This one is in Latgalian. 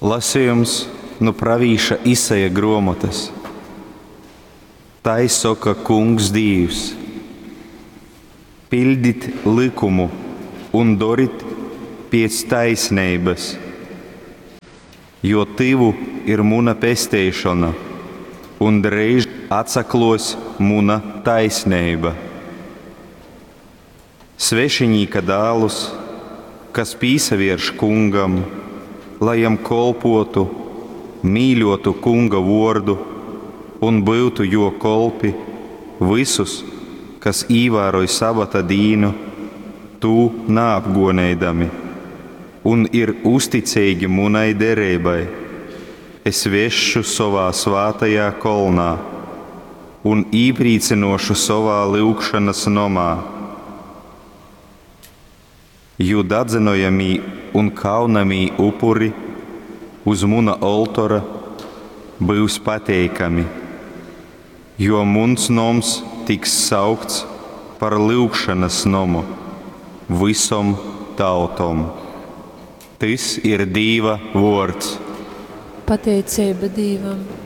Lasejums nu pravīša Isaja gruomotys. Tai soka Kungs Dīvs, Piļdit lykumu un dorit piec taisneibys, jo tyvu ir muna pesteišona un dreiž atsakluos muna taisneiba. Svešiņīka dālus, kas pīsavierš Kungam, lai jam kolpuotu, mīļuotu Kunga vuordu un byutu juo kolpi, vysus, kas īvāroj sabata dīnu, tū naapguoneidami, un ir uzticeigi munai dereibai, es vesšu sovā svātajā kolnā un īprīcynōšu sovā lyugšonas nomā. Jū dadzynojamī un kaunamī upuri uz muna oltora byus pateikami, jo muns noms tiks saukts par lyugšonas nomu vysom tautom. Tys ir Dīva vōrds. Pateiceiba Dīvam.